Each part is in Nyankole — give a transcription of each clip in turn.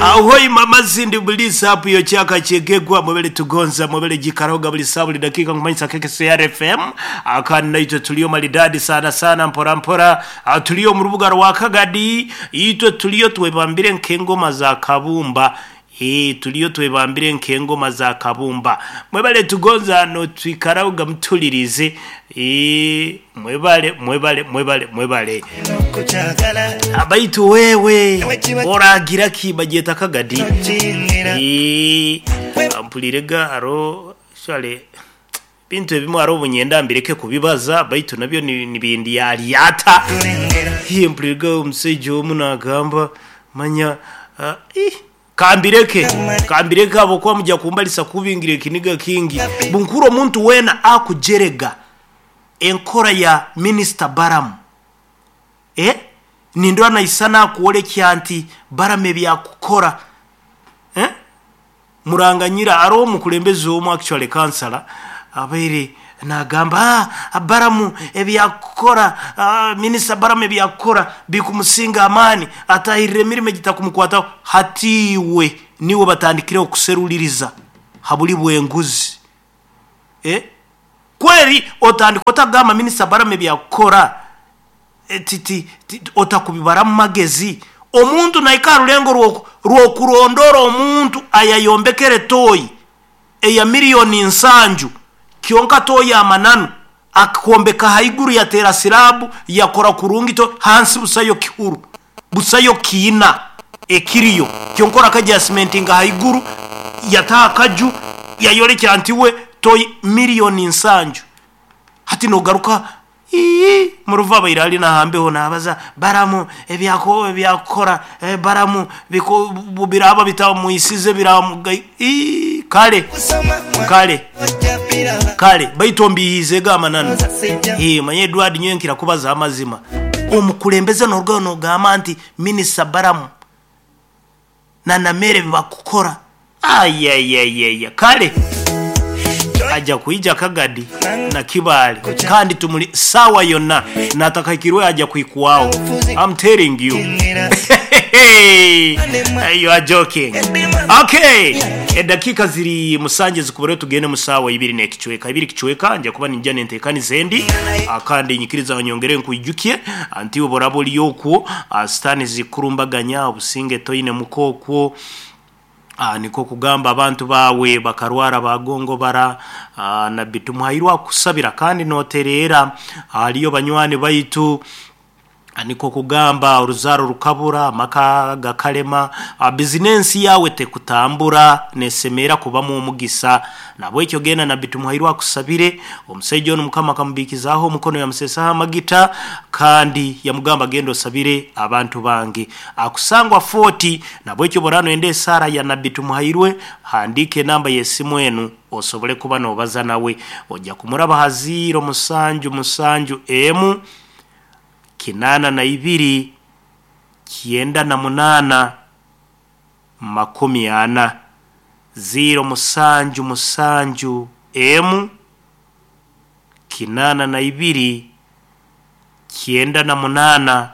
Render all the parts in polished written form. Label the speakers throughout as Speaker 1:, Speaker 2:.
Speaker 1: Ahoi mama Cindy Bulisa app yo kyaka kyegegwa mwebale tugonza mwebale gikarahoga buli saa buli dakika nkumanyisa KKCR FM akandi naitwe tuliyo maridadi sana sana mpora mpora. Ah, tuliyo mu rubuga rwa Kagadi itwe tuliyo twebambire nk'engoma za Kabumba. Tuliyo twebambire nk'engoma za Kabumba mwebale tugonza no twikarahoga mutulirize. Mwebale mwebale mwebale mwebale abaitu wewe oragira ki bagyeta Kagadi. Mpulirega aro shale bintu ebimwe aro obunyenda mbireke kubibaza baitu nabyo ni ni bindi yalyata. Mpulirega omushaija omu nagamba manya kambireke kambireke abo kuba mujya kumbalisa kubingira ekiniga kingi bunkuru omuntu weena akujerega enkora ya Minister Baramu. Nindora naisana akuolekya nti Baramu ebyakukora. Muranganyira aro omukulembeze omu actually kansala abaire nagamba Baramu ebyakukora, Minister Baramu ebyakukora bikumusinga amaani atahirire emirimo egitakumukwataho hatiwe niwe batandikireho kuseruliriza habuli bwenguzi. Kweri otandika otagamba Minister Baramu ebyakukora otakubibara mu magezi omuntu naika rulengo rwokurondora omuntu ayayombekere toyi eya miliyoni 7 kyonka toyi amananu akombeka haiguru yatera silabu yakora kurungi to hansi busayo kihuru busayo kiina ekiriyo kyonkora kajya cementinga haiguru yataka ju yayolekya ntiwe toyi miliyoni 7 hati nogaruka muruva bairali nahambeho nabaza Baramu ebyako ebyakora Baramu biko biraba bitamuisize biramu kale kale kale baitombihize gamanano. Manye Edward nyenkira kubaza amazima omukulembeze norugano nogamba nti Minister Baramu na namere bakukora ayayayaya kale aja kuija Kagadi na Kibale kandi tumuli sawa yonna natakakirwe aja kuikuwao. I'm telling you. You are joking. Okay, edakika ziri musanje zikubere tugende musawa ibiri nekichweka ibiri kichweka nja kuba ninja nentekani zendi akandi nyikiriza nyongere nkuijukie anti oborabo lyokwo stani zikurumbaganya obusinge toine mukokwo. Niko kugamba abantu bawe bakarwara bagongo bara na bitumuhairwa kusabira kandi noterera aliyo banywani baitu. Niko kugamba uruzaro rukabura amaka gakalema bizinensi yawe tekutambura nesemera kubamu omugisa nabo ekyo genda na bitumuhairwa kusabire omusajja ono mukama akamubikizaho omukono yamusesaho amagita kandi yamugamba genda osabire abantu bange akusangwa 40 nabo ekyo borano ende esara ya nabitumuhairwe handike namba yesimu enu osobole kuba nobaza nawe ojja kumuraba haziro musanju musanju emu 82 98 40 0 musanju musanju emu 82 98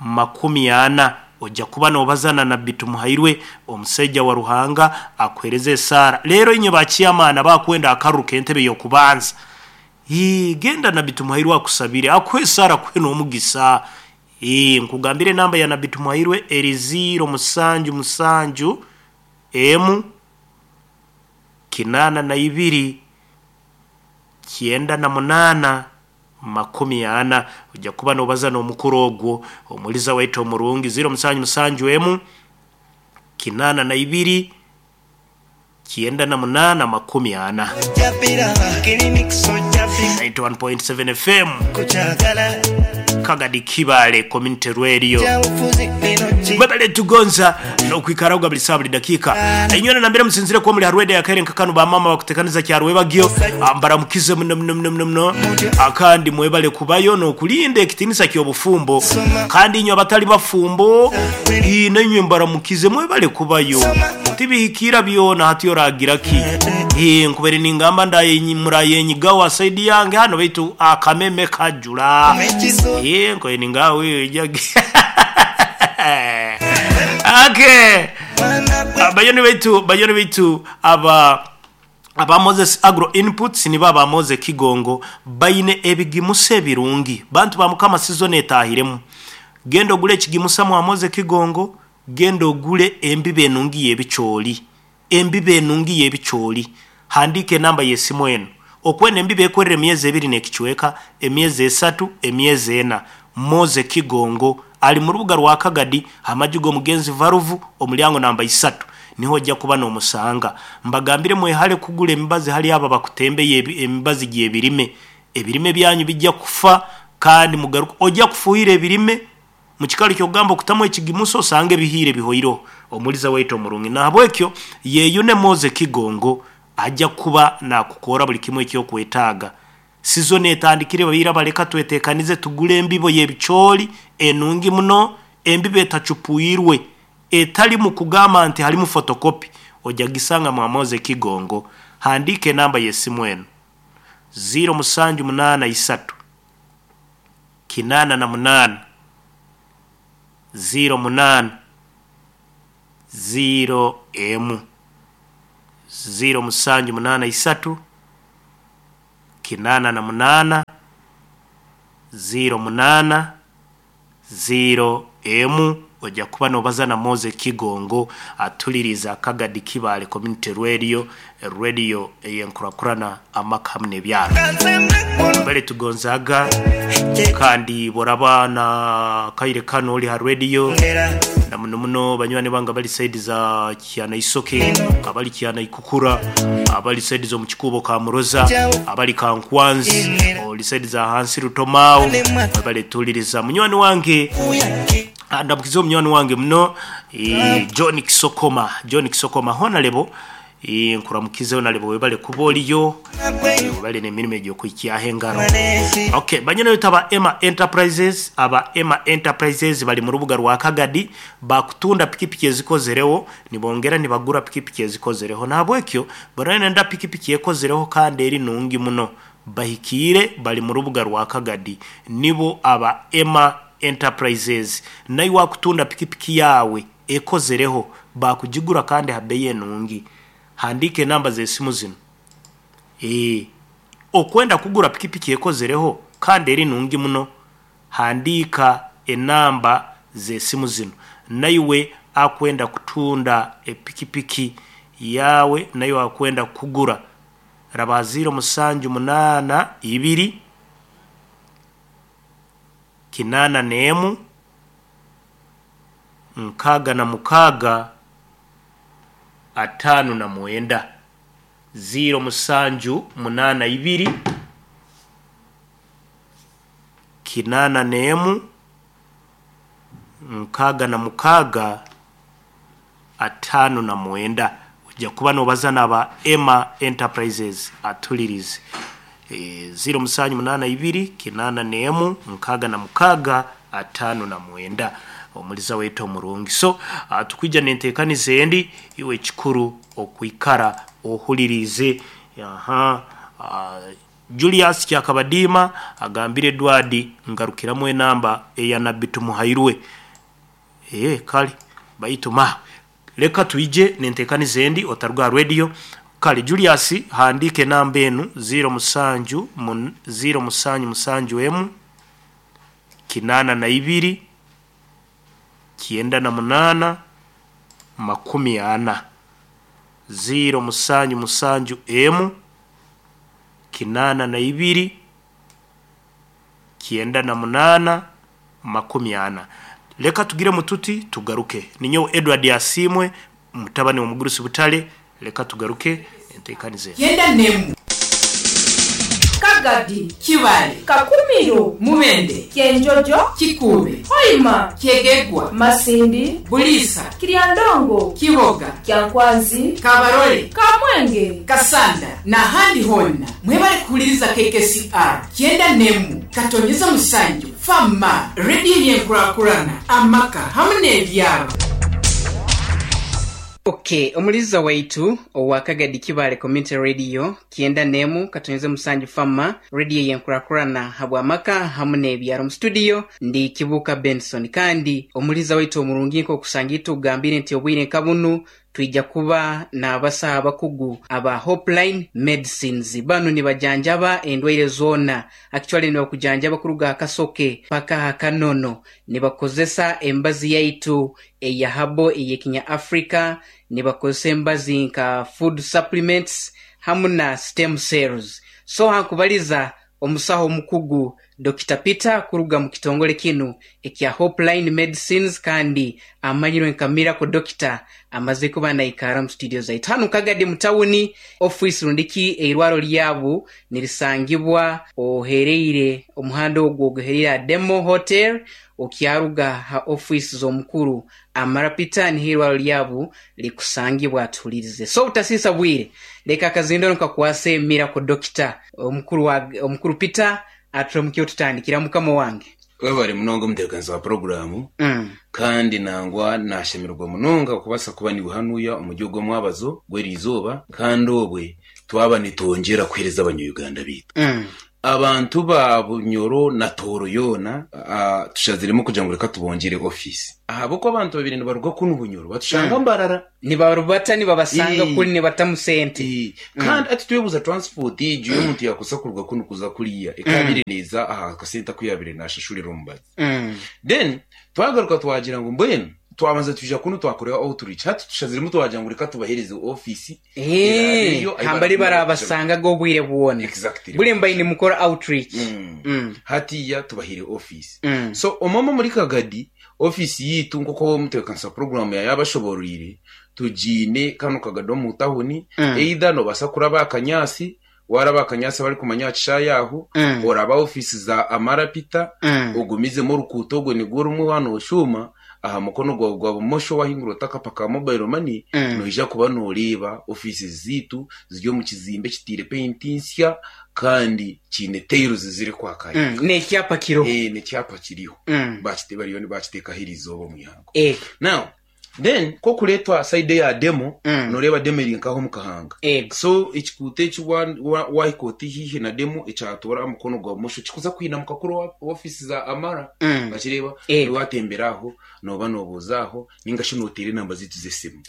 Speaker 1: 40 ojja kuba nobazana na bitumuhairwe omusajja wa Ruhanga akwereze esara lero inye bakiyamana bakwenda akaruka entebe yokubanza. Genda na bitumuhairwe akusabire akwesara kweno omugisa. Nkugambire namba ya nabitumuhairwe eri 0 musanju musanju emu 82 98 40 ojja kuba nobaza n'omukuru ogwo omuliza waitu omurungi 0 musanju musanju emu 82 98 40. 91.7 FM Kagadi Kibale Community Radio mwebale tugonza nokwikaraga buli saa buli dakika inyona nambere musinzire kuba muri harwede ya kare nkakanu ba mama bakutekaniza kyarwe bagyo mbaramukize muno muno muno muno akandi mwebale kubayo nokulinde ekitinisa kyobufumbo kandi inyo abatali bafumbo inenywe mbaramukize mwebale kubayo tibihikira byona hati yoragira ki nkubere ningamba ndaye murayenyi gawa saidi yange hano baitu akameme kajula nkoye ningawe jagi. Okay. Bayoni baitu, bayoni baitu aba aba Moses Agro Inputs nibo aba Moze Kigongo baine ebigimusa ebirungi. Bantu ba Mukama sizoni etahiremu. Genda ogule ekigimusa mwa Moze Kigongo, genda ogule embibo enungi y'ebicooli. Embibo enungi y'ebicooli. Handiika enamba y'esimu eno. Okwenda embibo ekwerera emyezi ebiri n'ekicweka, emyezi esatu, emyezi ena. Moze Kigongo ali mu rubuga rwa Kagadi, amaju g'omugenzi Varuvu, omulyango namba isatu. Niho oja kuba n'omusanga. Mbagambire mwehale kugura emibazi hali abo abakutembeya emibazi gy'ebirime. Ebirime byanyu bija kufa kandi mugaruke. Oja kufuhira ebirime Mu kikaro ky'okugamba okutamu ekigimusa osange ebihiire bihoireho. Omuliza waitu omurungi. Nahabwekyo yeyune Moze Kigongo aja kuba nakukoora buli kimu ekyokwetaaga. Sizoni etandikire baira baleka twetekanize tugule embibo y'ebicooli enungi muno, embibo etacupwirwe, etalimu kugamba nti halimu fotokopi, oja gisanga mwa Moze Kigongo. Handiika enamba y'esimu enu, ziiro musanju munaana isatu. 88 08 0 emu 0 musanju munaana isatu 88 08 0 emu oja kuba nobaza na Moze Kigongo atuliriza Kagadi Kibaale Community Radio, Radio ey'enkurakurana amaka hamu n'ebyaro. Bale tugonzaaga kandi bworaba na kaire kanu oli ha radio na muno muno banywani bange abali saidi za Kyanaisoke, abali Kyanaikukura, abali saidi z'omu Kikuubo Kamuroza, abali Kankwanzi, oli saidi za hansi Rutomao, mwebale tuliriza. Munywani wange ndamukize omunywani wange muno John Kisokoma, John Kisokoma honalebo Nkuramukize honalebo webale kuba oriyo, webale n'emirimo egyo okuhikyaho engaro. Ok, banyine baitu aba Emma Enterprises, aba Emma Enterprises bari mu rubuga rwa Kagadi, bakutunda pikipiki ezikozereho, nibongera nibagura pikipiki ezikozereho. Nahabwekyo, buri orenda pikipiki ekozereho kandi eri nungi muno, bahikiire bari mu rubuga rwa Kagadi. Nibo aba Emma Enterprises. Naiwe akutunda pikipiki yaawe ekozereho, baakugigura kandi aha beeyi enungi. Handiika enamba z'esimu zinu. Ee, okwenda kugura pikipiki ekozereho kandi eri nungi muno, handiika enamba z'esimu zinu. Naiwe akwenda kutunda epikipiki yaawe, naiwe akwenda kugura, raba aha ziiro musanju munaana ibiri, kinaana n'emu, 66, 59. Ziiro musanju munaana ibiri, 81, 66, 59. Oija kuba nobaza naba Emma Enterprises atulirize. Ziiro musanju munaana ibiri, 81, 66, 59. Omuliza waitu omurungi. So, tukwija n'enteekaniza endi, iwe ekikuru okwikara ohuliriize. Aha. Julius Kyakabadiima agambire Edward ngarukiramu enamba eya Nabbi Tumuhairwe. Ee, kale. Baitu ma, leka twije n'enteekaniza endi otaruga aha rediyo. Kale Julius handiika enamba enu, ziiro musanju mun, ziiro musanju musanju emu, 82, 98, 40. Ziiro musanju musanju emu, 82, 98, 40. Leka tugiremu tuti tugaruke. Ninyowe Edward Asiimwe, mutabani w'omugurusi Butare. Leka tugaruke enteekaniza enu.
Speaker 2: Kyenda n'emu.
Speaker 3: Kagadi.
Speaker 2: Kibaale.
Speaker 3: Kakumiro.
Speaker 2: Mubende.
Speaker 3: Kyenjojo.
Speaker 2: Kikuube.
Speaker 3: Hoima.
Speaker 2: Kyegegwa.
Speaker 3: Masindi.
Speaker 2: Buliisa.
Speaker 3: Kiryandongo.
Speaker 2: Kiboga.
Speaker 3: Kyankwanzi.
Speaker 2: Kabarole.
Speaker 3: Kamwenge.
Speaker 2: Kasanda n'ahandi hoona. Mwebale kuhuliriza KKCR kyenda n'emu katonyeza musanju Fama, rediyo y'enkurakurana, amaka hamu n'ebyaro. Ok, omuliza waitu owa Kagadi Kibaale Community Radio kyenda n'emu katonyeze musanju Fama Radio ey'enkurakurana habw'amaka hamu n'ebyaro. Mu studio ndi Kibuuka Benson kandi omuliza waitu omurungi nk'okusanga itwe ogambire nti obwire nka bunu twija kuba n'abasaho abakugu aba Hopeline Medicines. Banu nibajanjaba endwaire zoona actually nibakujanjaba kuruga aha kasoke paka aha kanono. Nibakozesa embazi yaitu eya habo ey'ekinya Africa, nibakozesa embazi nka food supplements hamu na stem cells. So hankubaliza omusaho omukugu Dokita Peter kuruga mu kitongole kinu ekya Hopeline Medicines kandi amanyirwe nka Miracle Dokita amaze kuba naikara mu studio zaitu hanu Kagadi mu tawuni. Ofiisi rundi ki eirwaro lyabu nirisangibwa ohereire omuhanda ogwo oguhereire aha Demo Hotel okyaruga ha ofiisi z'omukuru Amara Peter niho eirwaro lyabu rikusangibwa. Atuhulirize. So obutasiisa bwire leka akazindaro nkakwase Miracle Dokita omukuru wa omukuru Peter aturamukye otutandikira mukama wange.
Speaker 4: Webare munonga omutebekanisa wa puroguraamu kandi nangwa nashemererwa munonga okubaasa kuba niiwe hanuya omuri ogu omwabazo gw'eriizooba kandi obwe twaba nitwongyera kuheereza abanya-Uganda baitu. Abantu ba Bunyoro na Tooro yoona tushaziremu kugira ngu reka tubongyere ofiisi ahabw'okuba abantu babaire nibaruga kunu Bunyoro batushanga Mbarara.
Speaker 2: Nibarubata nibabasanga kuri nibatamu sente.
Speaker 4: Kandi hati twebuuza transport egyo ey'omuntu yaakozesa kuruga kunu kuza kuriya ekaabaire neeza aha kasente aku yaabaire naashashurira omubazi. Then twagaruka twagira ngu mbwenu twabanza twija kunu twakora outreach hati tushaziremu twagira ngu reka tubaheereze ofiisi eraabe eriyo ahu
Speaker 2: Hambari
Speaker 4: barakumara kugira
Speaker 2: barabasangaga obwire bwona.
Speaker 4: Exactly.
Speaker 2: Buri mbaire nimukora outreach.
Speaker 4: Hatiiya tubahaire ofiisi. So omwe omuri Kagadi Ofiisi yaitu nk'oku omutebeekanisa wa puroguraamu yaabashobooroire, tugiine kanu kagado omu tawuni. Either noobaasa kuraba aha kanyaatsi, waaraba aha kanyaatsi abarikumanya aha kishaayi aho, oraba aha ofiisi za Amara Peter, ogumizemu orukuuto orwo nirwo rumwe waaba nooshuuma, aha mukono gwawe gwa bumosho waahingura oti akapa ka mobile money, noija kuba nooreeba ofiisi zaitu ziri omu kizimbe ekitaire peyinti nsya kandi kiine tiles zirikwaka.
Speaker 2: N'ekyapa kiriho.
Speaker 4: N'ekyapa kiriho. Bariyo nibakiteekaho eriizooba omu ihangwe. Now, then ku okureetwa side eya demo, nooreeba demo eri nk'aho omu kahanga. So ekikuuto eki waahika oti haihi na demo ekyatoora aha mukono gwa bumosho kikuza kwinamuka kuri owa ofiisi za Amara. Okireeba? Waatembera aho, nooba noobuuza aho, nainga shi nooteera enamba zaitu z'esimu.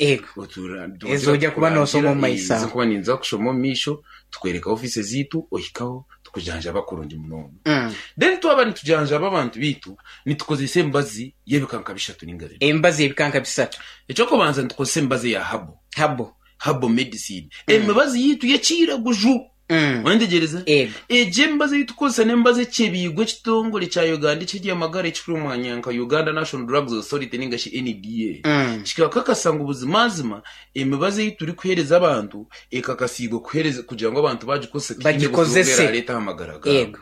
Speaker 2: Ezi oija kuba noosoma omu maiso aho.
Speaker 4: Ezi nkuba ninza kushoma omu maisho, tukwereka ofiisi zaitu, ohikaho. Tukujanjaba kurungi munonga. Then twaba nitujanjaba abantu baitu, nitukozesa emibazi y'ebikanka bishatu ninga bina.
Speaker 2: Emibazi y'ebikanka bisatu.
Speaker 4: Eky'okubanza nitukozesa emibazi eya herbal.
Speaker 2: Herbal.
Speaker 4: Herbal medicine. Emibazi yaitu y'ekiiraguju. Oyentegereza?
Speaker 2: Ego.
Speaker 4: Egyo emibazi ei tukozesa n'emibazi ekyebiirwe ekitongore kya Uganda eky'eby'amagara ekirikumanywa nka Uganda National Drugs Authority ninga shi NDA. Kikakakasa ngu buzimazima Emibazi ei turikuheereza abantu ekakasiibwe kuheereza kugira ngu abantu baagikozesa tihaine buzibu obu
Speaker 2: Bagikozese.
Speaker 4: eraareeta aha magara gaabo.
Speaker 2: Yego.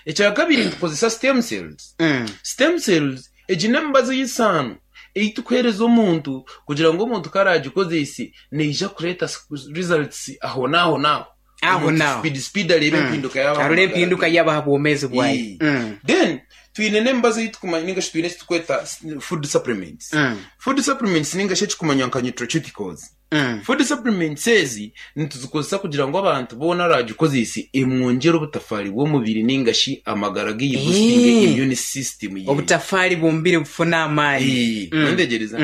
Speaker 4: Ekya kabiri nitukozesa stem cells. Stem cells egi n'emibazi ey'esaano ei turikuheereza omuntu kugira ngu omuntu ku araagikozese neija kureeta results ahonaaho naaho.
Speaker 2: Aho
Speaker 4: Omuntu
Speaker 2: naaho.
Speaker 4: speed speed areebe empinduka yaaba aha
Speaker 2: Arore
Speaker 4: magara
Speaker 2: empinduka
Speaker 4: ge.
Speaker 2: yaaba aha bwomeezi bwaye.
Speaker 4: Then twine n'emibazi ei tukumanya ninga shi twine eki turikweta food supplements. Food supplements ninga shi ekikumanywa nka nutraceuticals. Food supplements ezi nituzikozesa kugira ngu abantu boona araagikozese emwongyere obutafaari bw'omubiri ninga shi amagara ge boostinge immune system ye.
Speaker 2: Obutafaari bw'omubiri bufune amaani.
Speaker 4: Noyetegyereza?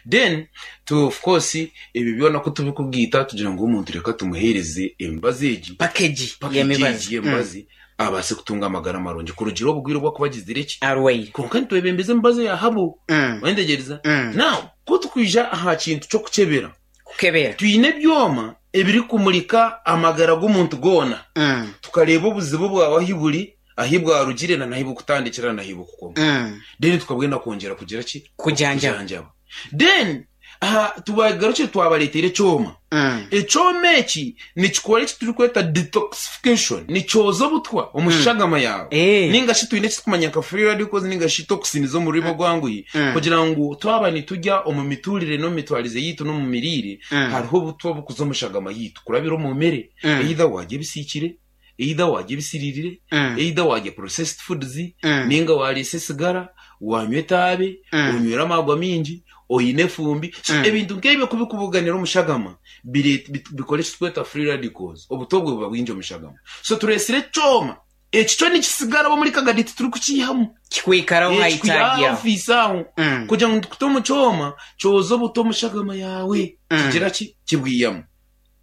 Speaker 4: Then tu of course Ebyo byona ku tubikugaita tugira ngu omuntu reka tumuheereze emibazi egi,
Speaker 2: Package
Speaker 4: package
Speaker 2: y'emibazi.
Speaker 4: egi y'emibazi abaase kutunga amagara marungi kurugiirira obugwire obu akuba agizire ki.
Speaker 2: Arwaire.
Speaker 4: Kwonka nitwebembeza emibazi eya herbal. Oyetegyereza? Now, ku tukwija aha kintu ky'okukyebera,
Speaker 2: Kukebera.
Speaker 4: twine ebyoma ebirikumurika amagara g'omuntu goona, tukareeba obuzibu bwawe ahu buri, ahu bwarugire na n'ahu burikutandikira na n'ahu burikukoma. Then tukabwenda kwongyera kugira ki?
Speaker 2: Kujanjaba.
Speaker 4: Okujanjaba. Then aha tubagarukire twabareetera ekyoma. Ekyoma eki nikikora eki turikweta detoxification, nikyoza obutwa omu shagama yaawe. Ninga shi twine eki turikumanya nka free radicals ninga shi toxins omu rurimi orwanguhi kugira ngu twaba niturya omu mituurire n'omu mitwarize yaitu n'omu miriire, hariho obutwa oburikuza omu shagama yaitu kurabira omu mere. Either waarya ebisiikire, either waarya ebisiriirire, either waarya processed foods, ninga waariisa esigara, waanywa etaabe, onywire amaarwa maingi, Oine efumbi. So ebintu nk'ebyo ku birikubuganira omu shagama, bikora eki turikweta free radicals, obuto obwo buba bwingi omu shagama. So tureetsire ekyoma, eki kyo nikisigara omuri kagadi titurikukiihamu.
Speaker 2: Kikwikaraho
Speaker 4: Eh,
Speaker 2: aha
Speaker 4: kikwiha aha
Speaker 2: itaagi aho.
Speaker 4: ofiisi aho kugira ngu nitukuta omu kyoma kyoze obuto omu shagama yaawe kigira ki? Kibwihamu.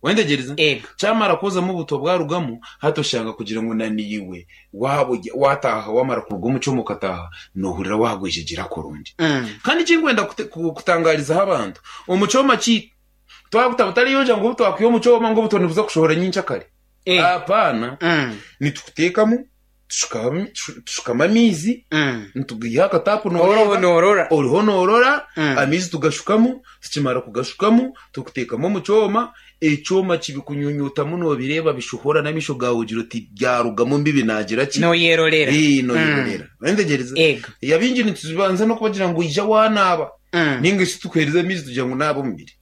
Speaker 4: Wentegyereza?
Speaker 2: Ego.
Speaker 4: Kyamara kwozamu obutwa bwarugamu, hati oshanga kugira ngu na naiwe waaba orya- waataaha wamara kuruga omu kyoma okataaha, noohurira waagwejegyera kurungi. Kandi eki ndikwenda kute- ku- kutangaarizaho abantu, omu kyoma kyaitu, twakuta butariyoja ngu obu twakwiha omu kyoma ngu obutwa nibuza kushohora nyenkyakare. Apaana, nitukuteekamu, tushukamu amaizi, nitugaiha aha kataapu
Speaker 2: Oriho
Speaker 4: nooreeba,
Speaker 2: noorora.
Speaker 4: oriho noorora, amaizi tugashukamu, tukimara kugashukamu, tukuteekamu omu kyoma, ekyoma kibikunyunyutamu noobireeba bishohora n'amaisho gaawe ogira oti byarugamu mbibi naagira ki?
Speaker 2: Nooyerorera.
Speaker 4: Nooyerorera. Orentegereza?
Speaker 2: Ego.
Speaker 4: Abaingi nitubanza n'okubagira ngu ija waanaaba. Nainga shi tukuheereza amaizi tugira ngu naaba omubiri.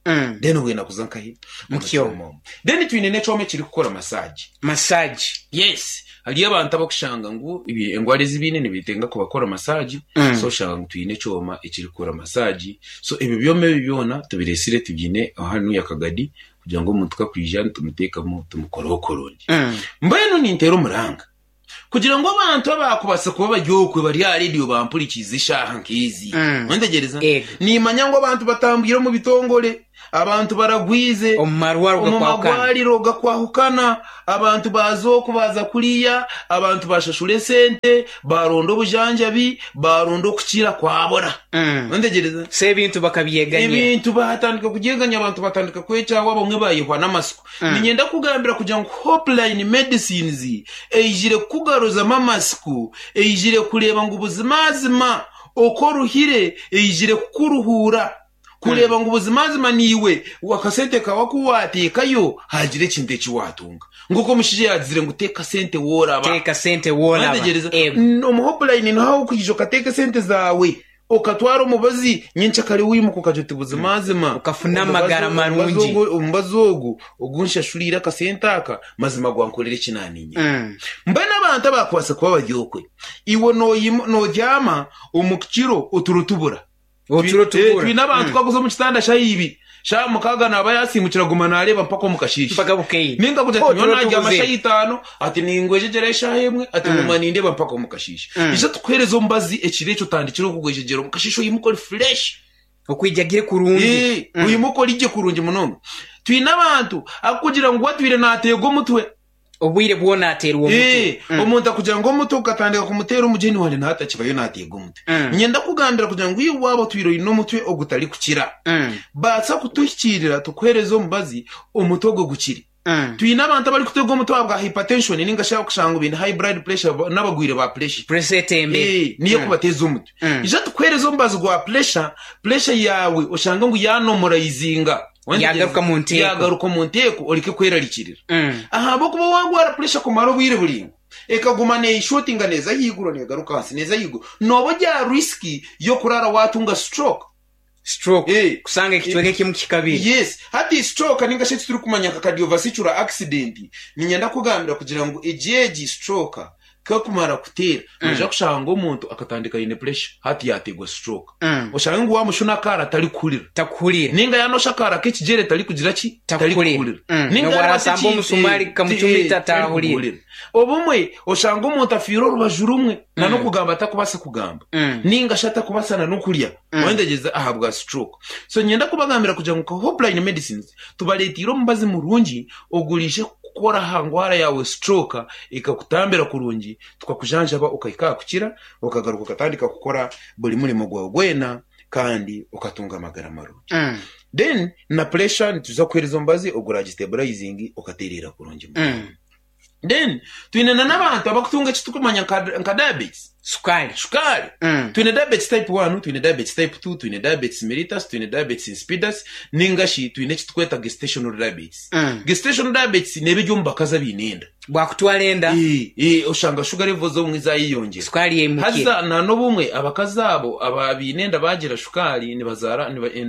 Speaker 4: Then obwine kuza nkahi?
Speaker 2: Mu kyoma.
Speaker 4: Omu. Then twine n'ekyoma ekirikukora massage.
Speaker 2: Massage.
Speaker 4: Yes. Hariyo abantu abakushanga ngu engwara ezi baine nibetenga kubakora massage. So oshanga ngu twine ekyoma ekirikukora massage. So ebyo byoma ebi byona tubireetsire tubiine hanuya Kagadi kugira ngu omuntu ku akwija nitumuteekamu tumukoreho kurungi. Mbwenu ninteera omuranga Kugira ngu abantu abaakubaasa kuba bari okwe bari aha rediyo bampurikiize eshaaha nk'ezi. Wentegyereza?
Speaker 2: Ego.
Speaker 4: Niimanya ngu abantu batambwire omu bitongore, abantu baragwize,
Speaker 2: Omu marwariro
Speaker 4: omu
Speaker 2: gakwahukana.
Speaker 4: magwariro gakwahukana, abantu baaza oku baaza kuriya, abantu baashashura esente, baaronda obujanjabi, baaronda okukira kwabura. Wentegyereza?
Speaker 2: So ebintu bakabyeganyira.
Speaker 4: Ebintu baatandika kubyeganya, abantu batandika kwekyawa, abamwe baayehwa n'amatsiko. Niinyenda kukugambira kugira ngu Hopeline Medicines eijire kukugaruzamu amatsiko, eijire kureeba ngu buzimazima oku oruhire, eijire kukuruhuura, kureeba ngu buzimazima naiwe akasente kaawe aku waateekayo haagira ekintu eki waatunga. Nk'oku omushaija yaagizire ngu teeka sente wooraba.
Speaker 2: Teeka sente wooraba.
Speaker 4: Mwetegyereza?
Speaker 2: Eego.
Speaker 4: Omu Hopeline niho ah'okwija okateeka esente zaawe. Okatwara omubazi nyenkyakare waimuka okagira oti buzimazima
Speaker 2: Okafuna amagara marungi.
Speaker 4: Omubazi ogu ogu nshashuriire akasente aka mazima gwankorera eki naaniinyire. Mbwenu abantu abaakubaasa kuba bari okwe, iwe noobyama omu kiro oturo tubura.
Speaker 2: Oturo tubura.
Speaker 4: Twine abantu ku akuza omu kitanda shaaha ibiri, shaaha mukaaga naaba yaasiimukire aguma naareeba mpaka omu kasheeshe.
Speaker 2: Mpaka bukeire.
Speaker 4: Ninga kugira ati
Speaker 2: Oturo
Speaker 4: nyowe naabyama
Speaker 2: tubuze.
Speaker 4: shaaha itaano, ati ningwejegyera eshaaha emwe, ati nguma nindeeba mpaka omu kasheeshe. Ija tukuheereze omubazi ekiro ekyo otandikire okugwejegyera omu kasheeshe oyimuke ori fresh.
Speaker 2: Okwijagire kurungi.
Speaker 4: Oyimuke ori gye kurungi munonga. Twine abantu akukugira ngu atwire naateegwa omutwe.
Speaker 2: Obwire bwona ateerwa omutwe.
Speaker 4: Omuntu akugira ngu omutwe gukatandika kumuteera omugyeni wangye nawe atakibayo naateega omutwe. Niinyenda kukugambira kugira ngu iwe waaba otwire oine omutwe ogutarikukira, baasa kutuhikiirira tukuheereze omubazi omutwe ogwo gukire. Twine abantu abarikuteega omutwe ahabwa hypertension ninga shi kushanga ngu baine high blood pressure n'abagwire ba pressure.
Speaker 2: Pressure etembere.
Speaker 4: Niyo erikubateeza omutwe. Ija tukuheereze omubazi gwa pressure, pressure yaawe oshange ngu yaanomoraizinga.
Speaker 2: Yaagaruka omu nteeko.
Speaker 4: Yaagaruka omu nteeko oreke kwerarikirira. Ahabw'okuba waagwara puresha kumara obwire buraingwa, ekaguma neeshuutinga neeza ahaiguru neegaruka ahansi neeza ahaiguru, nooba ori aha risiki y'okuraara waatunga stroke.
Speaker 2: Stroke,
Speaker 4: Eh.
Speaker 2: kusanga ekicweka ekimu kikabire.
Speaker 4: Yes. Hati stroke ninga shi eki turikumanya nka cardiovascular accident, niinyenda kukugambira kugira ngu egi egi stroke Ku ekumara kuteera, noija kushanga omuntu akatandika aine pressure, hati yaateegwa stroke. Oshange ngu waamushuna akaara tarikuhurira.
Speaker 2: Takuhurira.
Speaker 4: Nainga yaanosha akaara k'ekigyere tarikugira ki?
Speaker 2: Takuhurira.
Speaker 4: Tarikuhurira.
Speaker 2: N'obu
Speaker 4: Nainga yaarwata
Speaker 2: araasamba
Speaker 4: ekintu,
Speaker 2: omusumaari gukamucumita taahurira.
Speaker 4: tarikuhurira. Obumwe oshanga omuntu afiire orubaju rumwe, nan'okugamba atakubaasa kugamba. Nainga shi atakubaasa nan'okurya. Wayetegyereza? Ahabwa stroke. So niinyenda kubagambira kugira ngu nka Hopeline Medicines tubareeteire omubazi murungi oguriije kukora aha ndwara yaawe stroke ekakutambira kurungi tukakujanjaba okahika aha kukira okagaruka okatandika kukora buri murimo gwawe gwena kandi okatunga amagara marungi. Then na pressure nituza kukuhereza omubazi oguragistabilizinga okatereera kurungi munonga. Then twine na n'abantu abakutunga eki turikumanya nka diabetes.
Speaker 2: Shukaari.
Speaker 4: Shukaari. Twine diabetes type 1, twine diabetes type 2, twine diabetes mellitus, twine diabetes insipidus, ninga shi twine eki turikweta gestational diabetes. Gestational diabetes neeba eri omu bakazi abaine enda.
Speaker 2: Bwakutwara enda.
Speaker 4: Oshanga sugar levels obumwe zaayeyongyera.
Speaker 2: Shukaari yaimukire.
Speaker 4: Haza na n'obumwe abakazi abo abaine enda baagira shukaari nibazaara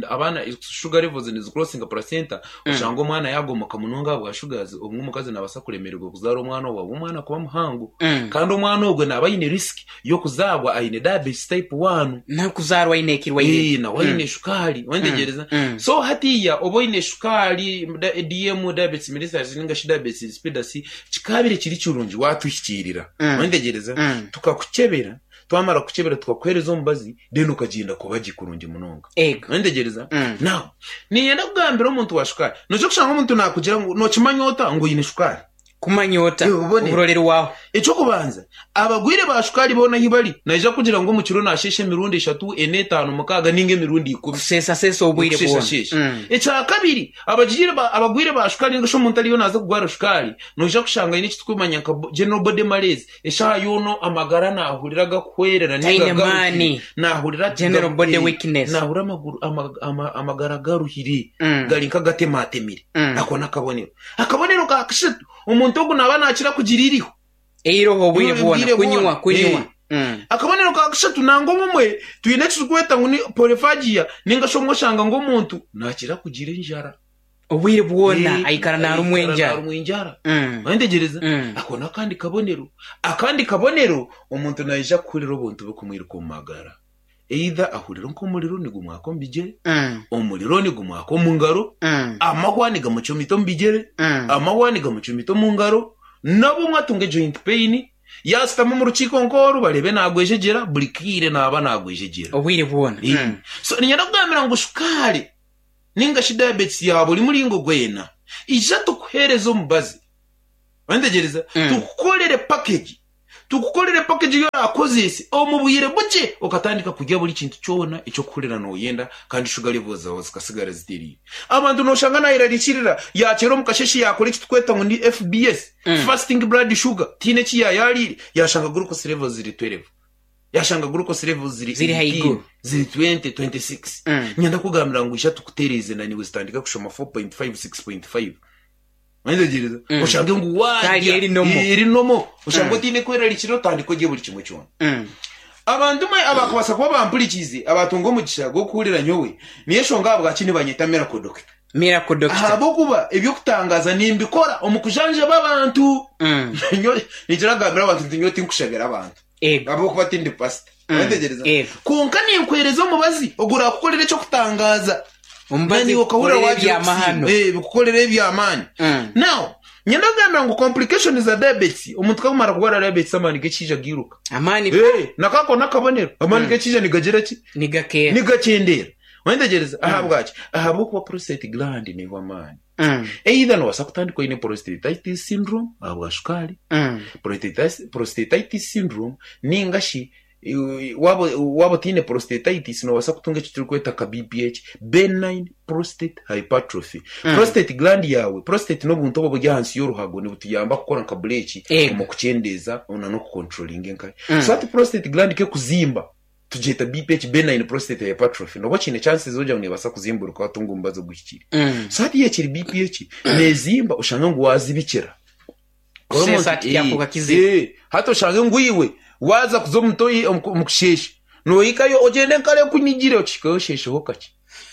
Speaker 4: abaana sugar levels nizicrossinga placenta Oshanga omwana yaagomoka munonga ahabwa sugars, obumwe omukazi naabaasa kuremererwa kuzaara omwana ogwo ahabw'omwana kuba muhango. Kandi omwana ogwo naaba aine risk. y'okuzaarwa aine diabetes type one.
Speaker 2: N'okuzaarwa aine ekirwaire.
Speaker 4: Eh, nawe aine shukaari, wantegereza? So hatiiya oba oine shukaari, DM, diabetes mellitus ninga shi diabetes insipidus, kikaabire kiri kirungi waatuhikiirira, wantegereza? Tukakukyebera, twamara kukukyebera tukakuheereza omubazi, then okagyenda kuba gye kurungi munonga.
Speaker 2: Ego.
Speaker 4: Wantegereza? Now, niinyenda kugambira omuntu wa shukaari, noija kushanga omuntu naakugira ngu nookimanya ota ngu oine shukaari?
Speaker 2: Kumanya ota
Speaker 4: Eh, obone.
Speaker 2: oburorerwaho?
Speaker 4: Eky'okubanza, abagwire ba shukaari boona ahi bari, naija kugira ngu omu kiro naasheesha emirundi eshatu, ena, etaano, mukaaga nainga emirundi ikumi.
Speaker 2: Kuseesaseesa obwire bwona.
Speaker 4: Okusheeshasheesha. Ekyakabiri, abagiire ba, abagwire ba shukaari ninga shi omuntu ariyo naaza kugwara shukaari, noija kushanga aine eki turikumanya nka general body malaise, eshaaha yoona amagara naahurira gakuhwerera nainga
Speaker 2: Taine
Speaker 4: garuhire.
Speaker 2: maani.
Speaker 4: Naahurira ati
Speaker 2: General
Speaker 4: garu-
Speaker 2: body
Speaker 4: eh,
Speaker 2: weakness.
Speaker 4: naahurira amaguru, ama, ama, amagara garuhire, gari nk'agatemaatemire. Ako n'akabonero. Akabonero ka kashatu, omuntu ogu naaba naakira kugira eiriho.
Speaker 2: Eiroho obwire bwona,
Speaker 4: Obwire
Speaker 2: kunywa,
Speaker 4: bwona.
Speaker 2: kunywa.
Speaker 4: Eh. Akabonero ka kashatu, nangwa obumwe twine eki turikweta ngu ni polyphagia, ninga shi obumwe oshanga ngu omuntu naakira kugira enjara.
Speaker 2: Obwire bwona
Speaker 4: Eh,
Speaker 2: aikara naarumwa
Speaker 4: aikara
Speaker 2: enjara.
Speaker 4: naarumwa enjara. Oyentegereza? Ako n'akandi kabonero. Akandi kabonero, omuntu naija kuhurira obuntu burikumwiruka omu magara. Either ahurire nk'omuriro nigumwaka omu bigyere, omuriro nigumwaka omu ngaro, amahwa nigamucumita omu bigyere, amahwa nigamucumita omu ngaro, n'obumwe atunga joint pain, yaashutama omu rukiiko nk'oru bareebe naagwejegyera, buri kaire naaba naagwejegyera.
Speaker 2: Obwire bwona.
Speaker 4: So niinyenda kugambira ngu shukaari ninga shi diabetes ya buri muringo gwena, ija tukuheereze omubazi, Orantegereza? Tukukorere package. Tukukorere package ei orakozese omu bwire bukye okatandika kurya buri kintu kyona eki orikuhurira nooyenda kandi sugar levels zaawe zikasigara zitereire. Abantu nooshanga naayerarikirira yaakyera omu kasheeshe yaakora eki turikweta ngu ni FBS, fasting blood sugar, tihaine eki yaayaariire, yaashanga glucose levels ziri 12, yaashanga glucose levels ziri
Speaker 2: Ziri
Speaker 4: 18,
Speaker 2: haiguru.
Speaker 4: ziri 20, 26. Niinyenda kukugambira ngu ija tukutereeze naiwe zitandike kushoma 4.5, 6.5. Oyetegereza? Oshange ngu
Speaker 2: Sukari
Speaker 4: waarya
Speaker 2: eri nomo.
Speaker 4: eri nomo. Oshange otaine kwerarikirira otandike orye buri kimwe kyona. Abantu mwe abakubaasa kuba bampurikiize abaatunga omugisha gw'okuhurira nyowe, niyo enshonga ahabwaki nibanyeta Miracle Doctor.
Speaker 2: Miracle Doctor.
Speaker 4: Ahabw'okuba eby'okutangaaza nimbikora omu kujanjaba abantu. Nyowe ninkira kugambira abantu nti nyowe tinkushabira abantu.
Speaker 2: Ego.
Speaker 4: Ahabw'okuba tindi pasita. Oyetegereza?
Speaker 2: Ego.
Speaker 4: Kwonka ninkwereza omubazi oguraakukorera eky'okutangaaza.
Speaker 2: Omubazi
Speaker 4: Nani okahurira
Speaker 2: gukukorera
Speaker 4: wagira
Speaker 2: ebyamahano.
Speaker 4: okusiima. Eh, bikukorera eby'amaani. Now, nyenda kugambira ngu complications za diabetes, omuntu ku akumara kurwara diabetes amaani g'ekiija gairuka.
Speaker 2: Amaani
Speaker 4: Eh, nako ako n'akabonero. Amaani g'ekiija nigagira ki?
Speaker 2: nigakeera.
Speaker 4: Nigakyendera. Oyetegereza? Ahabwaki? Ahabw'okuba prostate gland neihwa amaani. Either nobaasa kutandika oine prostatitis syndrome ahabwa shukaari, prostatitis syndrome ninga shi waaba otaine prostatitis noobaasa kutunga eki turikweta nka BPH, benign prostate hypertrophy. Prostate gland yaawe, prostate n'obuntu obu oburi ahansi y'oruhago nibutuyamba kukora nka bureeki omu kukyendeeza n'okukonturoringa enkari. So hati prostate gland ku erikuzimba, tugyeta BPH, benign prostate hypertrophy, nooba okiine chances z'okugira ngu neebaasa kuzimburuka waatunga omubazi oguhikire. So hati yaaba ekiri BPH, neezimba oshange ngu waazibikira.
Speaker 2: Kuseesa
Speaker 4: Omuntu-
Speaker 2: tikyafuuka
Speaker 4: eh,
Speaker 2: kizibu.
Speaker 4: eh, hati oshange ngu iwe waaza kuza omu toyi omu omu kusheesha noohikayo ogyende enkari ekunyigire okihikayo osheesheho kakye.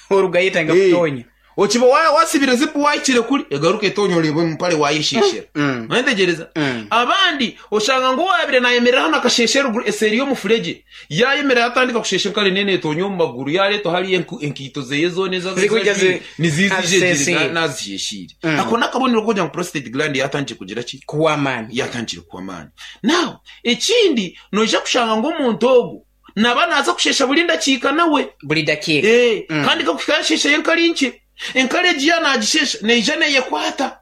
Speaker 2: Orugayo etandika
Speaker 4: Eh,
Speaker 2: kutonya.
Speaker 4: okiba wa- wasibire zipu wahikire kuri egaruka etonya oreeba omu mpare wayesheeshera. Oyetegereza? Abandi oshanga ngu owaabire naayemerera hanu akasheesha eruguru eseeri y'omufuregye Yaayemera yaatandika kusheesha enkari nene etonya omu maguru, yaareetwa hariya enkaito zeye zoona ezi
Speaker 2: Zirikwija
Speaker 4: ajwaire niziija
Speaker 2: azisheesheire,
Speaker 4: egire naazisheesheire. Ako n'akabonero k'okugira ngu prostate gland yaatandikire kugira ki?
Speaker 2: Kuhwa amaani.
Speaker 4: Yaatandikire kuhwa amaani. Now, ekindi noija kushanga ngu omuntu ogu naaba naaza kusheesha buri ndakiika nawe.
Speaker 2: Buri dakiika.
Speaker 4: Ee, kandi kakuhika yaasheeshayo enkari nkye, enkari egi yaaba naagisheesha neija neeyekwata.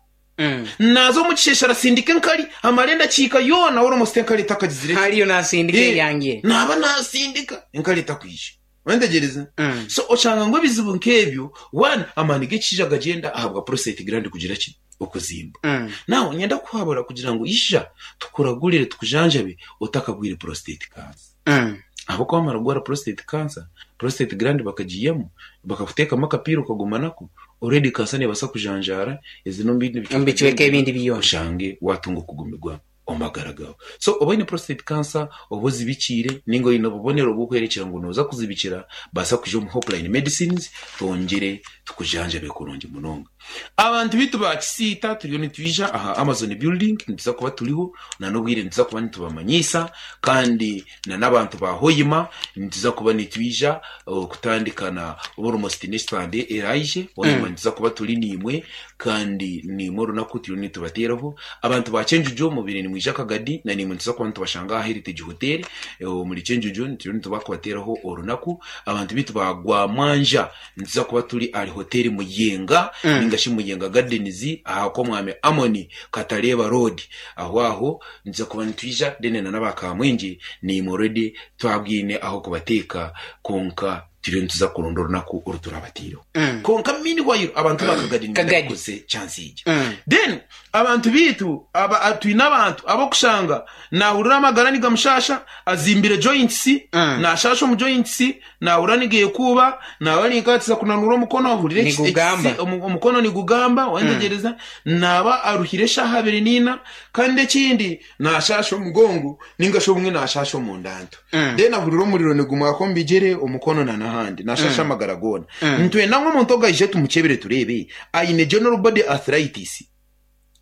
Speaker 4: Naaza omu kisheshe arasindika enkari amara endakiika yoona almost enkari etakagizire ki?
Speaker 2: Hariyo naasindika
Speaker 4: Eh,
Speaker 2: eryangire.
Speaker 4: naaba naasindika enkari etakwija. Oyentegereza? So oshanga ngu ebizibu nk'ebyo, one, amaani g'ekishaija gagyenda ahabwa prostate gland kugira ki? Okuzimba. Now niinyenda kukuhabura kugira ngu ija tukuragurire tukujanjabe otakagwire prostate cancer. Ahabw'okuba wamara kugwara prostate cancer, prostate gland bakagiihamu, bakakuteekamu akapiira okaguma nako, already cancer neebaasa kujanjaara eze n'omu bindi
Speaker 2: Omu bicweka ebindi byona.
Speaker 4: oshange waatunga okugumirwa. omu magara gaawe. So oba oine prostate cancer oba ozibikiire ninga oine obubonero oburikworekyera ngu nooza kuzibikira, baasa kwija omu Hopeline Medicines twongyere tukujanjabe kurungi munonga. Abantu baitu ba Kisiita turiyo nitwija aha Amazon Building nituza kuba turiho na n'obwire nituza kuba nitubamanyiisa kandi na n'abantu ba Hoima nituza kuba nitwija kutandika na almost next Sunday eraije Hoima nituza kuba turi naimwe kandi naimwe orunaku turiyo nitubateeraho. Abantu ba Kyenjojo mubaire nimwija Kagadi na naimwe nituza kuba nitubashanga aha Heritage Hotel omuri Kyenjojo turiyo nituba kubateeraho orunaku. Abantu baitu ba Gwamwanja Nituza kuba turi ahari Hoteeri Muyenga ninga shi Muyenga Gardens aha kw'Omwami Amon Katareeba Road. Aho aho nituza kuba nitwija then na n'aba Kamwengye naimwe already twabwine aho kubateeka kwonka turiyo nituza kuronda orunaku oru turabateireho. Kwonka meanwhile abantu ba Kagadi nibaija
Speaker 2: Kagadi.
Speaker 4: kukozesa chance egi. Then abantu baitu aba twine abantu ab'okushanga naahurira amagara nigamushaasha, azimbire joints, naashaasha omu joints, Naahurira nigeekuuba, naaba ninkaatiza kunanuura omukono, ahurira
Speaker 2: Nigugamba.
Speaker 4: omukono nigugamba, wantegyereza, naaba aruhire eshaaha abiri n'ina, kandi ekindi naashaasha omugongo ninga shi obumwe naashaasha omunda nto. Then ahurira omuriro nigumwaka omu bigyere, omukono na n'ahandi, naashaasha amagara goona. Nitwenda ngu omuntu ogu aije tumukyebere tureebe aine general body arthritis.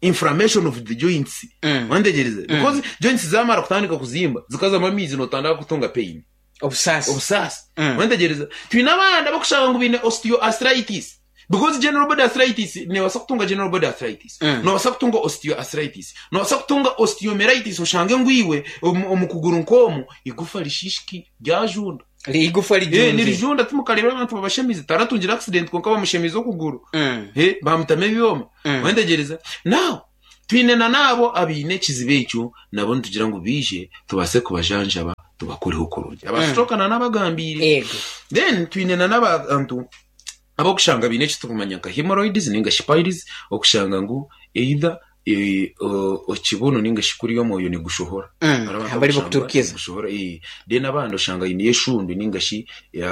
Speaker 4: Inflammation of the joints wantegyereza because joints zamara kutandika kuzimba zikazamu amaizi notandika kutunga pain.
Speaker 2: Obusaasi.
Speaker 4: Obusaasi. Wantegyereza? Twine abandi abarikushanga ngu baine osteoarthritis. Because general body arthritis, noobaasa kutunga general body arthritis, noobaasa kutunga osteoarthritis, noobaasa kutunga osteomyelitis oshange ngu iwe omu kuguru nk'omu eigufa rishiishikire ryajunda.
Speaker 2: Eigufa rijunzire.
Speaker 4: Nirijunda timukareebire abantu babashemize, taratungire accident kwonka bamushemize okuguru, bamutamu ebyoma. Wantegyereza? Now, Twine na n'abo abaine ekizibu ekyo nabo nitugira ngu baije tubaase kubajanjaba tubakoreho kurungi. Aba stroke na n'abagambiire.
Speaker 2: Yego.
Speaker 4: Then twine na n'abantu ab'okushanga baine eki turikumanya nka hemorrhoids ninga shi piles okushanga ngu either ekibunu ninga shi kuriya omwoyo nigushohora. Hariho abantu
Speaker 2: Abari
Speaker 4: abakushanga
Speaker 2: bakuturukiza.
Speaker 4: nigushohora then abandi oshanga aineyo eshundu ninga shi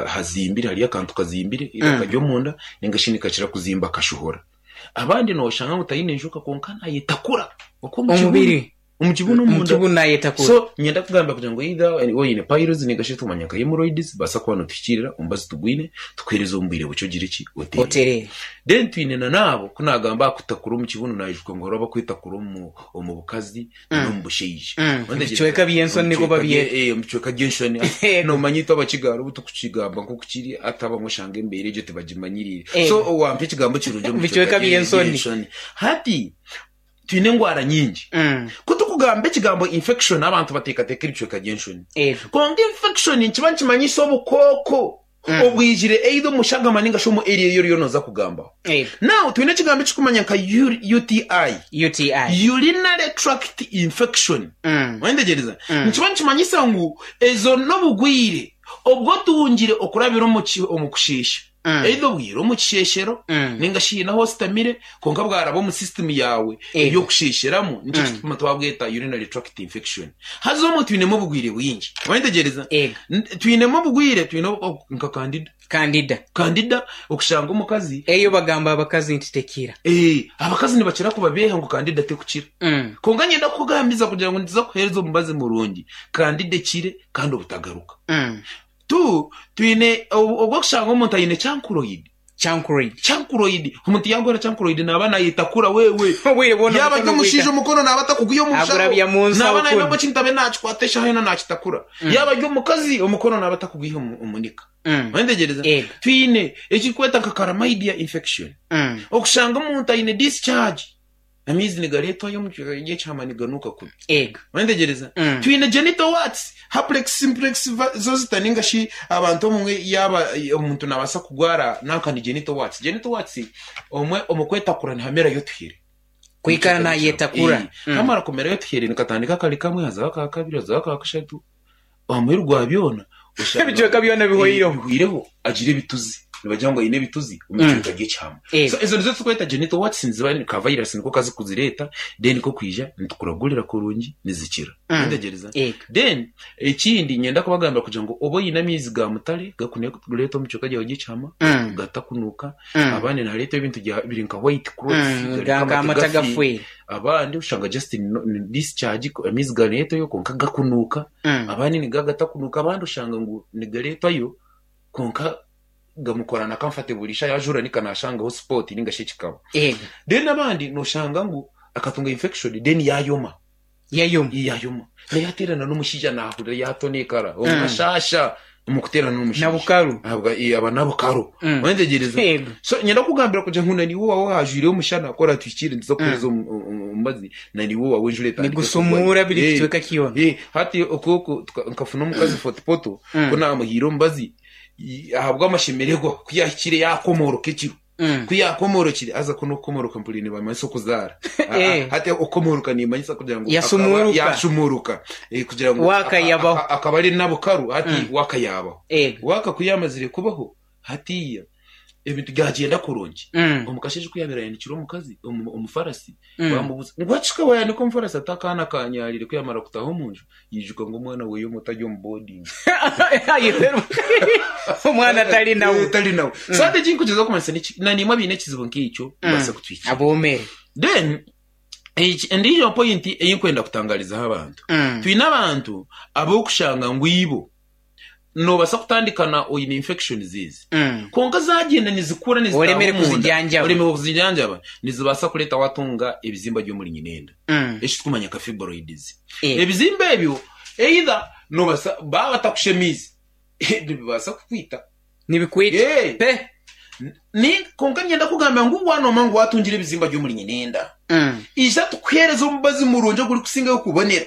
Speaker 4: hazimbire hariyo akantu kazimbire either kari omunda ninga shi nikakira kuzimba kashohora. Abandi nooshanga ngu taine njoka kwonka naayetakura okwo omu kibunu.
Speaker 2: Omubiri.
Speaker 4: Omu kibunu
Speaker 2: Omu
Speaker 4: omunda.
Speaker 2: kibunu naayetakura.
Speaker 4: So niinyenda kugamba kugira ngu either oine piles ninga shi ekitumanya nka hemorrhoids baasa kuba nituhikiirira omubazi tugwine tukuheereze omu bwire bukye ogire ki? Otereere.
Speaker 2: Otereere.
Speaker 4: Then twine na n'abo ku naagamba aha kutakura omu kibunu naijuka ngu hariho abakwetakura omu omu bukazi n'omu bushaija.
Speaker 2: Omu bicweka by'enshoni nikwo babyeta.
Speaker 4: Omu bicweka by'enshoni. Noomanya itwe Abakiga hariho obu turikukigamba nk'oku kiri hati abamwe oshanga embeera egyo tibagimanyiriire. So wampa ekigambo kirungi omu
Speaker 2: bicweka by'enshoni.
Speaker 4: Hati twine endwara nyingi. Ku turikugamba ekigambo infection abantu bateekateeka ebicweka by'enshoni. Kwonka infection nikiba nikimanyisa obukooko. Obwijire either omu shagama ninga shi omu area ei oriyo noza kugambaho. Now twine ekigambo ekirikumanya nka UTI,
Speaker 2: UTI.
Speaker 4: Urinary Tract Infection. Wayetegyereza? Nikiba nikimanyisa ngu ezo n'obugwire obu otungire okurabira omu kusheesha. Either obwire omu kisheeshero ninga shi haine ahu ositamire kwonka bwaraba omu system yaawe ey'okusheesheramu nikyo kituma twabweta urinary tract infection. Haza omwo twinemu obugwire bwingi. Wayetegyereza? Twinemu obugwire, twine nka candida.
Speaker 2: Candida.
Speaker 4: Candida okushanga omukazi.
Speaker 2: Eyo bagamba abakazi nti tekira.
Speaker 4: Abakazi nibakira kubabeeha ngu candida tekukira. Kwonka niinyenda kukugambiza kugira ngu nituza kukuheereza omubazi murungi, candida ekire kandi obutagaruka. Tu, twine obw'okushanga omuntu aine chancroid.
Speaker 2: Chancroid.
Speaker 4: Chancroid. Omuntu yaagwara chancroid naaba naayetakura wewe.
Speaker 2: Obwire bwona
Speaker 4: Yaaba ari
Speaker 2: omukono
Speaker 4: omushaija
Speaker 2: gwika.
Speaker 4: omukono naaba atakugwiha omu nshaho.
Speaker 2: Agurabya mu nsaho
Speaker 4: Naaba naine
Speaker 2: kunu.
Speaker 4: ekintu abe naakikwata eshaaha yoona naakitakura. Yaaba ari omukazi omukono naaba atakugwiha omu nika. Wayetegyereza?
Speaker 2: Ego.
Speaker 4: Twine ekirikweta nka chlamydia infection. Okushanga omuntu aine discharge. Amaizi nigareetwayo omu ky'ekihama niganuuka kubi.
Speaker 2: Ego.
Speaker 4: Wayetegyereza? Twine genital warts, herpes simplex zoster ninga shi abantu obumwe yaaba omuntu naabaasa kugwara nanka ni genital warts. Genital warts obumwe omu kwetakura nihamerayo otuhere.
Speaker 2: Kwikara naayetakura.
Speaker 4: Kamara kumerayo otuhere nikatandika kari kamwe hazaho aka kabiri hazaho aka kashatu aha muheru gwa byona oshanga
Speaker 2: Ebicweka byona bihweireho.
Speaker 4: bihweireho agira ebituzi. Nibagira ngu aine ebituzi omu kicweka ry'ekihama. So ezo nizo turikweta genital warts niziba ka virus niko kazikuzireeta then kokwija nitukuragurira kurungi nizikira. Nitegyereza. Then ekindi niinyenda kubagambira kugira ngu oba oine amaizi ga mutare gakureeta omu kicweka kyawe ky'ekihama gatakunuuka, abandi nihareetwa ebintu biri nka white clots gari nk'amate gafiire, abandi oshanga just ni discharge amaizi gareetwayo kwonka gakunuuka, abandi nigo agatakunuuka, abandi oshanga ngu nigareetwayo kwonka gamukora na comfortable isha yajura nika nashangaho spot ninga shi ekikaba. Then abandi noshanga ngu akatunga infection then yayoma.
Speaker 2: Yayoma.
Speaker 4: Yayoma. Naye yaterana n'omushaija nahurira yatonekara omu kashasha omu kuterana n'omushaija.
Speaker 2: Nabukaru.
Speaker 4: Ahabwa aba nabukaru. Wantegereza? So nyenda kugambira kugira ngu naniwe owawe hajwireyo omushana ku oratuhikire nituza kukuhereza omubazi naniwe owawe enjura etandike kugwa.
Speaker 2: Nigusumuura buri kicweka kyona.
Speaker 4: Hati oku nkafuna omukazi Fort Portal ku namuhaire omubazi ahabw'amashemererwa ku yaahikire yaakomoroka ekiro. Ku yaakomorokire, haza ku n'okukomoroka mpuriire nibamanyisa okuzaara. Hati okukomoroka niimanyisa kugira ngu
Speaker 2: Yasumuuruka.
Speaker 4: yaashumuuruka. Kugira ngu
Speaker 2: Waaka yabaho.
Speaker 4: akaba ari nabukaru hati waaka yaabaho. Waaka ku yaamazire kubaho, hatiiya ebintu byagyenda kurungi. Omu kasheeshe ku yaabaire ayanikire omukazi omufarasi, Baamubuuza ngu, Wakika waayanika omufarasi ati, Akaana kaanyaariire. Ku yaamara kutaaha omu nju, yaijuka ngu omwana we omuto ari omu boodingi.
Speaker 2: Omwana tari nawe.
Speaker 4: Tari nawe. So hati eki nkugyezaho kumanyisa niki? Na naimwe abaine ekizibu nk'ekyo mubaase kutuhikira.
Speaker 2: Aboomere.
Speaker 4: Then endiijo pointi ei nkwenda kutangarizaho abantu, twine abantu ab'okushanga ngu ibo Noobaasa kutandika na oine infections ezi, kwonka zaagyenda nizikura nizitaaha
Speaker 2: Oremere
Speaker 4: omunda,
Speaker 2: kuzijanjaba.
Speaker 4: oremerwe kuzijanjaba, nizibaasa kureeta waatunga ebizimba by'omuri nyinenda, eki turikumanya nka fibroids. Ebizimba ebyo either noobaasa baaba batakushemiize, nibibaasa kukwita.
Speaker 2: Nibikwita pe.
Speaker 4: Ni kwonka niinyenda kugamba ngu waanooma ngu waatungire ebizimba by'omuri nyinenda, ija tukuheereze omubazi murungi ogurikusingayo kubonera.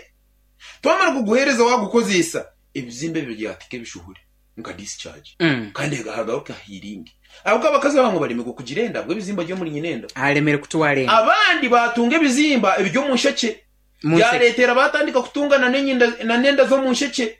Speaker 4: Twamara kuguheereza waagukozeesa, ebizimba ebyo byateeka ebishuhure nka discharge kandi hagaruka healing. Ahabw'okuba abakazi abamwe baremirwe kugira enda ahabw'ebizimba by'omuri nyina enda.
Speaker 2: Aremere kutwara enda.
Speaker 4: Abandi baatunga ebizimba eby'omu nshekye
Speaker 2: Mu nshekye.
Speaker 4: byareetera baatandika kutunga na n'enda z'omu nshekye.